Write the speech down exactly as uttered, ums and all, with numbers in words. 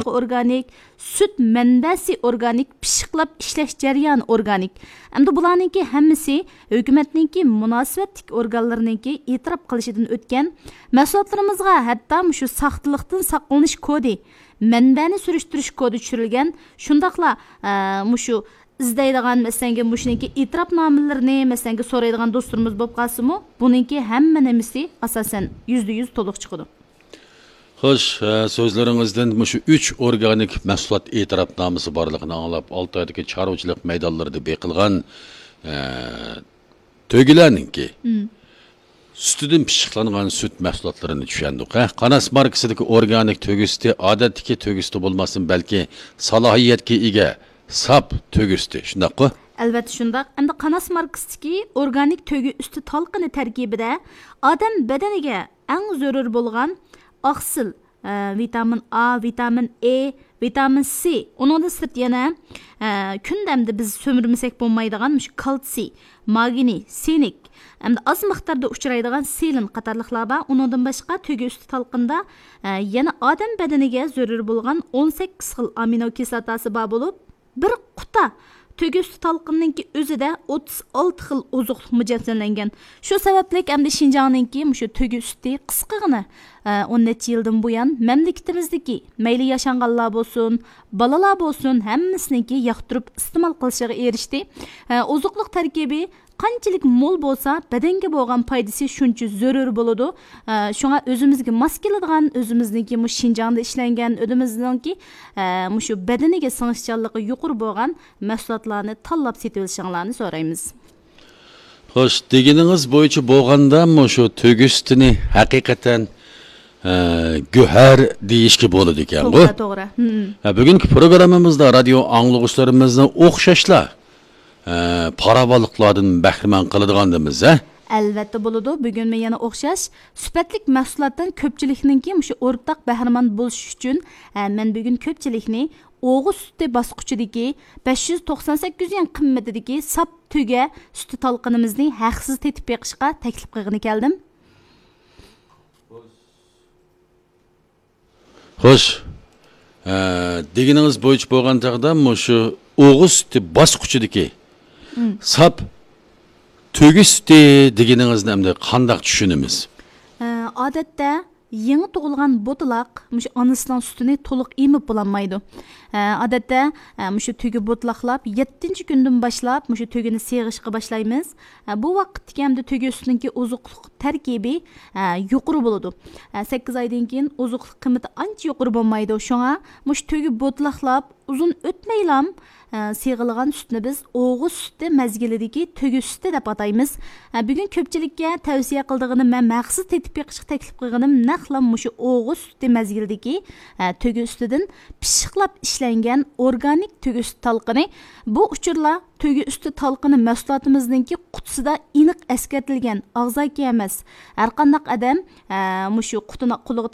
ئورگانىك، سۈت مەنبەسى ئورگانىك، پىششىقلاپ ئىشلەش جەريانى ئورگانىك. ئەمدى بۇلارنىڭكى ھەممىسى ھۆكۈمەتنىڭكى مۇناسىۋەتلىك ئورگانلىرىنىڭكى ئېتىراپ قىلىشىدىن ئۆتكەن. مەھسۇلاتلىرىمىزغا ھەتتا مۇشۇ ساختىلىقتىن ساقلىنىش كودى، مەنبەنى سۈرۈشتۈرۈش كودى چۈشۈرۈلگەن. شۇنداقلا، ئە، مۇشۇ ئىزدەيدىغان، مەسىلەنكى، مۇشۇنىڭكى ئېتىراپنامىلىرىنى، مەسىلەنكى، سورايدىغان دوستلىرىمىز بولۇپ قالسىمۇ، بۇنىڭكى ھەممە نېمىسى ئاساسەن يۈزدە يۈز تولۇق چىقىدۇ. خوش، ئە، سۆزلىرىڭىزدىن مۇشۇ ئۈچ ئورگانىك مەھسۇلات ئېتىراپنامىسى بارلىقىنى ئاڭلاپ، ئالتايدىكى چارۋىچىلىق مەيدانلىرىدا بېقىلغان، ئە، تۆگىلەرنىڭكى مم. سۈتىدىن پىششىقلانغان سۈت مەھسۇلاتلىرىنى چۈشەندۇق، ھە؟ قاناس ماركىسىدىكى ئورگانىك تۆگە سۈتى ئادەتتىكى تۆگە سۈتى بولماستىن، بەلكى سالاھىيەتكە ئىگە ساپ تۆگە سۈتى، شۇنداققۇ؟ ئەلۋەتتە شۇنداق. ئەمدى قاناس ماركىسىدىكى ئورگانىك تۆگە سۈتى تالقىنى تەركىبىدە ئادەم بەدىنىگە ئەڭ زۆرۈر بولغان ئاقسىل، ئە، ۋىتامىن ئا، ۋىتامىن ئې، ۋىتامىن سى، ئۇنىڭدىن سىرت يەنە، ئە، كۈندە ئەمدى بىز سۈمۈرمىسەك بولمايدىغان مۇشۇ كالتسىي، ماگنىي، سىنك، ئەمدى ئاز مىقداردا ئۇچرايدىغان سېلېن قاتارلىقلار بار. ئۇنىڭدىن باشقا تۆگە ئۈستى تالقىندا، ئە، يەنە ئادەم بەدىنىگە زۆرۈر بولغان ئون سەككىز خىل ئامىنو كىسلاتاسى بار بولۇپ، بىر قۇتا تۆگە ئۈستى تالقىنىنىڭكى ئۆزىدە ئوتتۇز ئالتە خىل ئوزۇقلۇق مۇجەسسەملەنگەن. شۇ سەۋەبلىك ئەمدى شىنجاڭنىڭكى مۇشۇ تۆگە ئۈستى قىسقىغىنە، ئە، ئون نەچچە يىلدىن بۇيان مەملىكىتىمىزدىكى مەيلى ياشانغانلار بولسۇن، بالىلار بولسۇن، ھەممىسىنىڭكى ياقتۇرۇپ ئىستېمال قىلىشىغا ئېرىشتى. ئە، ئوزۇقلۇق تەركىبى قانچىلىك مول بولسا، بەدەنگە بولغان پايدىسى شۇنچە زۆرۈر بولىدۇ. ئە، شۇڭا ئۆزىمىزگە ماس كېلىدىغان، ئۆزىمىزنىڭكى مۇشۇ شىنجاڭدا ئىشلەنگەن، ئۆزىمىزنىڭكى، ئە، مۇشۇ بەدىنىگە سىڭىشچانلىقى يۇقىرى بولغان مەھسۇلاتلارنى تاللاپ سېتىۋېلىشىڭلارنى سورايمىز. خوش، دېگىنىڭىز بويىچە بولغاندا مۇشۇ تۆگە سۈتىنى ھەقىقەتەن، ئە، گۆھەر دېيىشكە بولىدىكەنغۇ؟ توغرا، توغرا. ھە، بۈگۈنكى پروگراممىمىزدا رادىيو ئاڭلىغۇچىلىرىمىزنى ئوخشاشلا، ئە، پاراۋانلىقلاردىن بەھرىمەن قىلىدىغاندىمىز، ھە؟ ئەلۋەتتە بولىدۇ. بۈگۈنمۇ يەنە ئوخشاش سۈپەتلىك مەھسۇلاتتىن كۆپچىلىكنىڭكى مۇشۇ ئورتاق بەھرىمەن بولۇشى ئۈچۈن، ئە، مەن بۈگۈن كۆپچىلىكنى ئوغۇز سۈتى باسقۇچىدىكى بەش يۈز توقسان سەككىز يۈەن قىممىتىدىكى ساپ تۆگە سۈتى تالقىنىمىزنى ھەقسىز تېتىپ بېقىشقا تەكلىپ قىلغىلى كەلدىم. خوش، ئە، دېگىنىڭىز بويىچە بولغان چاغدا مۇشۇ ئوغۇز سۈتى باسقۇچىدىكى مم. ساپ تۆگە سۈتى دېگىنىڭىزنى ئەمدى قانداق چۈشىنىمىز؟ ئە، ئادەتتە يېڭى تۇغۇلغان بوتىلاق مۇشۇ ئانىسىنىڭ سۈتىنى تولۇق ئېمىپ بولالمايدۇ. ئە، ئادەتتە، ئە، مۇشۇ تۆگە بوتىلاقلاپ يەتتىنچى كۈندىن باشلاپ مۇشۇ تۆگىنى سېغىشقا باشلايمىز. ئە، بۇ ۋاقىتتىكى ئەمدى تۆگە سۈتىنىڭكى ئوزۇقلۇق تەركىبى، ئە، يۇقىرى بولىدۇ. ئە، سەككىز ئايدىن كېيىن ئوزۇقلۇق قىممىتى ئانچە يۇقىرى بولمايدۇ. شۇڭا مۇشۇ تۆگە بوتىلاقلاپ ئۇزۇن ئۆتمەيلام، ئە، سېغىلغان سۈتنى بىز ئوغۇز سۈتى مەزگىلىدىكى تۆگە سۈتى دەپ ئاتايمىز. ئە، بۈگۈن كۆپچىلىككە تەۋسىيە قىلىدىغىنىم، مەن مەخسۇس تېتىپ بېقىشقا تەكلىپ قىلغىنىم نەقلا مۇشۇ ئوغۇز سۈتى مەزگىلىدىكى، ئە، تۆگە سۈتىدىن پىششىقلاپ ئىشلەنگەن ئورگانىك تۆگە سۈتى تالقىنى. بۇ ئۇچۇرلار تۆگە ئۈستى تالقىنى مەھسۇلاتىمىزنىڭكى قۇتىسىدا ئېنىق ئەسكەرتىلگەن، ئاغزاكى ئەمەس. ھەرقانداق ئادەم، ئە، مۇشۇ قۇتىنى قولىغا